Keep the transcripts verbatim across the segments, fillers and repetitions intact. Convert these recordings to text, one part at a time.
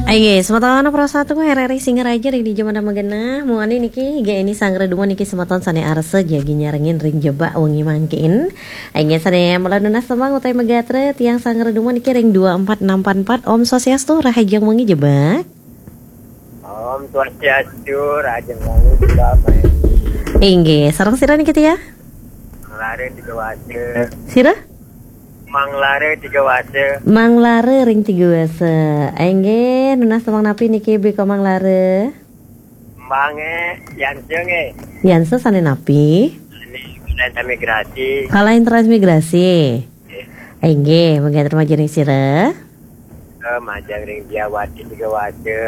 Inggih, semeton prasatunggu R R I Singaraja ring dija mangkin genah. Muali niki, inggih, ini sanggra dumun niki semeton sane arsa jagi nyarengin ring jebak wengi mangkin. Inggih, sane mula nunas tembang utawi magatra tiang sanggra dumun niki ring dua empat enam empat empat. Om Swastiastu, rahajeng wengi jebak. Om Swastiastu, rahajeng wengi jebak, Pak. Inggih, sareng sira niki, Tia? Manglara Tiga Wasa. Sira? Manglara Tiga Wasa. Manglara ring Tiga Wasa. Inggih, nunas tembang napi niki, Bli Komang Lara? Tembang, eh, Yansa, eh. Yansa sane napi? Ini Kalahin Transmigrasi. Kalahin Transmigrasi. Eh. Inggih, mangkin terima ring sira. Eh, majeng ring Diawati Tiga Wasa,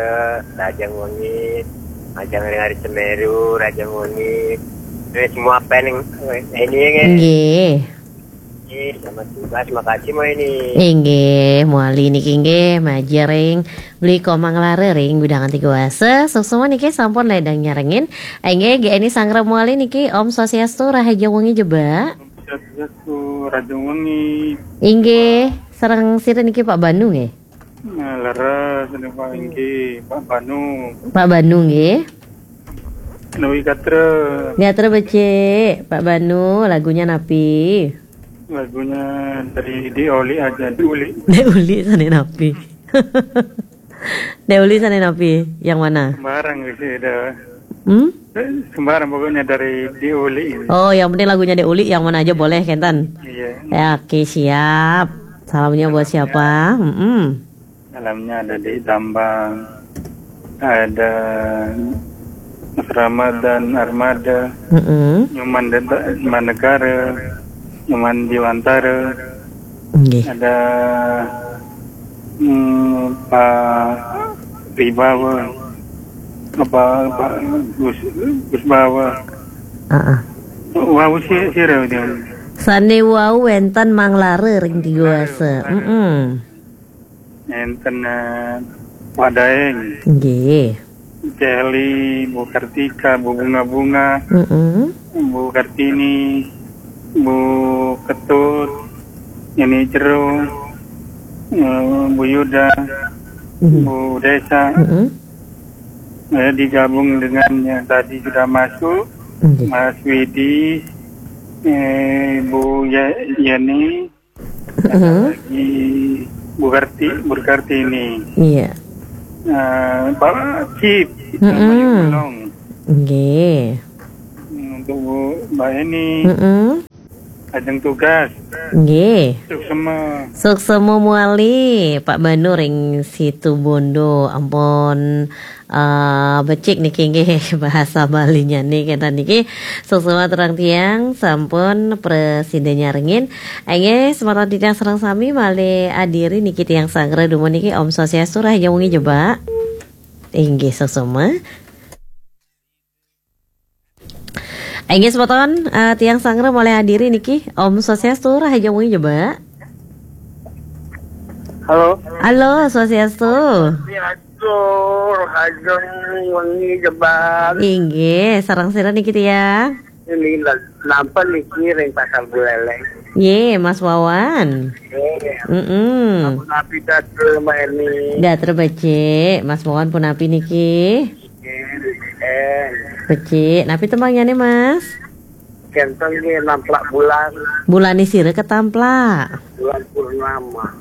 rahajeng wengi, majeng ring Ari Semeru, rahajeng wengi. Ini semua pen, eh, ini, eh. Nggih. Nggih, selamat tugas, makasih, Mbak, ini. Inggih, muali niki nggih, majeng ring Bli Komang Lara ring wewidangan Tiga Wasa. Suksma niki sampun ledang nyarengin. Inggih, G N I sanggra muali niki, Om Swastiastu, rahajeng wengi jebak. Om Swastiastu, rahajeng wengi. Inggih, sareng sira niki Pak Banu nggih? Nah, leres niki, Pak, inggih, Pak Banu. Pak Banu nggih. Menawi gatra. Gatra becik, Pak Banu, lagunya napi? Lagunya dari Dek Uli aja, Dek Uli. Dek Uli sane napi? Dek Uli sane napi? Yang mana? Sembarang sih, dah. Hmm? Eh, sembarang pokoknya dari Dek Uli. Oh, yang penting lagunya Dek Uli, yang mana aja boleh, kenten? Iya. Ya, oke, siap. Salamnya buat siapa? Mm-mm. Salamnya ada di Tambang, ada Mas Ramadan Armada, Mm-mm. Nyoman Deta-, Nyoman Negara, Nyoman Diwantara, Nggih. Ada, hmm, Pak Ribawa, apa, Pak Gus, Gus Bawa. Heeh. Wau si-, sira, Ujang? Sane wau wenten Mang Lara ring Tiga Wasa. Heeh. Enten, eh, Pak Daeng. Nggih. Celi, Bu Kartika, Bu Bunga-Bunga, Mm-mm. Bu Kartini, Bu Ketut, Nini Cero, eh, Bu Yuda, Mm-hmm. Bu Desa. Mm-mm. Eh, digabung dengan yang tadi sudah masuk, Nggih. Mas Widi, eh, Bu Ye-, Yeni, Mm-mm. Lagi Bu Karti-, Bu Kartini. Iya. Eh, Pak Cip, Mm-mm. Mayung Belong. Nggih. Untuk Bu, Mbak Eni. Mm-mm. Ajeng tugas. Nggih. Suksma. Suksma muali, Pak Banu ring Situbondo. Ampun, eh, becik niki nggih bahasa Balinya nih, kenten niki. Suksma terang tiang, sampun prasida nyarengin. Inggih, semeton titiang sareng sami malih adiri niki tiang sanggra dumun niki, Om Swastiastu, rahajeng wengi jebak. Inggih, suksma. Inggih, semeton, eh, tiang sanggra malih adiri niki, Om Swastiastu, rahajeng wengi jebak. Halo. Halo, Swastiastu. Swastiastu, rahajeng wengi jebak. Inggih, sareng sira niki tiang? Ini la-, nampa niki ring Pasar Buleleng. Nggih, Mas Wawan. Nggih. Mm-mm. Sampun napi gatra, Mbak Eni? Gatra becik, Mas Wawan punapi niki? Nggih, becik. Becik, napi tembangnyané, Mas? Kenten nggih, Namplak Bulan. Bulané sira katamplak? Bulan purnama.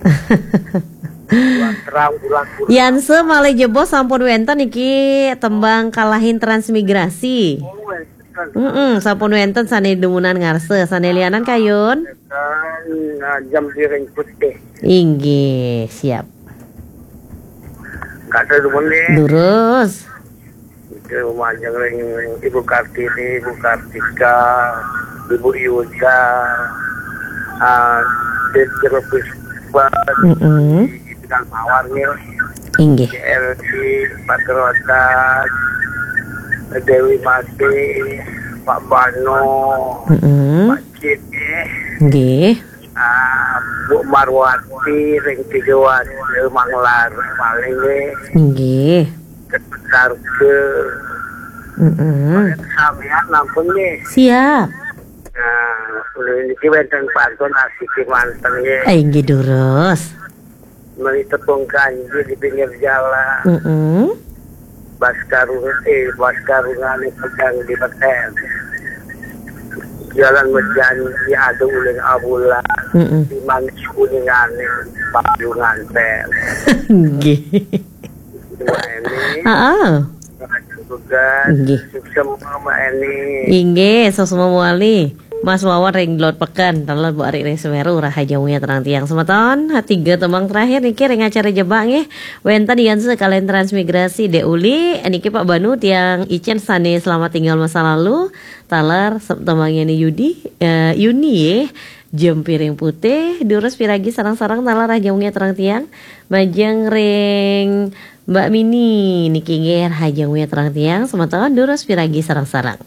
Bulan terang, bulan purnama. Yansa malih jebos sampun wénten niki tembang Kalahin Transmigrasi. Oh, wénten. Mm-mm, sampun wénten sané dumunan ngarsa, sané lianan kayun. Wénten, nah, jam piring putih. Inggih, siap. Kata dumun nggih. Durus. Itu majeng ring Ibu Kartini, Ibu Kartika, Ibu Yuda, ah, Dek Jero Puspa, Mm-mm. Ibu Mawar nggih. Inggih. L G, Pak Kerotas, Dewi Mati, Pak Bano, Mm-mm. Pak Cip nggih. Nggih. Ah, Bu Marwati ring Tiga Wasa, Manglar, paling nggih. Nggih. Ketersarga. Mm-mm. Sampeyan nampun nggih. Siap. Nah, ulun niki wénten pantun asiki manten nggih. Eh, inggih durus. Meli tepung kanji di pinggir jalan. Mm-mm. Baskarung eh baskarungane pegang di beten. Jalan berjanji ada uling abulan. Mm-mm. Di manis kuningane payungan pen. Nggih. Ini Heeh. tugas Nggih. Sukses semua Mbak Eni. Inggih, sosmo muali. Mas Wawan ring Dlot Peken, taler Bu Ari ring Semeru, rahajeng wengi terang tiang semeton. Ha, tiga tembang terakhir niki ring acara jebak nggih. Wenten Yanse kalian transmigrasi Dek Uli, niki Pak Banu tiang icen sane selamat tinggal masa lalu. Taler se- tembangnya ni Yudi, eh, Yuni ye. Jempiring putih, durus piragi sarang-sarang taler rahajeng wengi terang tiang. Majeng ring Mbak Mini niki nggih rahajeng wengi terang tiang semeton, durus piragi sarang-sarang.